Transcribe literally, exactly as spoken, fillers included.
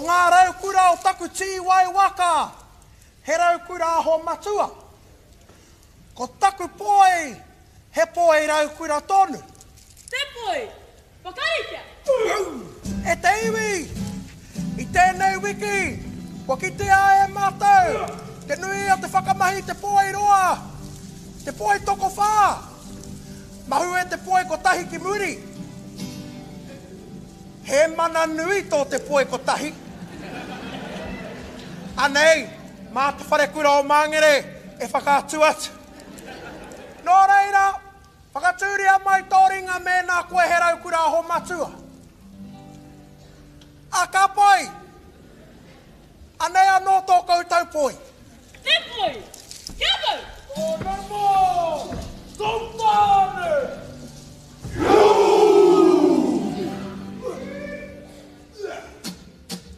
ngā raukura o taku tīwai waka, he raukura aho matua. Ko taku poi, he poi raukura tonu. Te poi! Whakaritea! E te iwi! I tēnei wiki, kua kitea e mātou te nui o te whakamahi te poi roa, te poi tokowhā. Mahue te poi kotahi ki muri. He mana nui tō te poi kotahi. Anei, mā te wharekura o Māngere e whakaatu atu. Nō reira, whakatūria mai tō ringa mēnā koe he raukura aho matua. A ka pai! Anei anō tō koutou poi.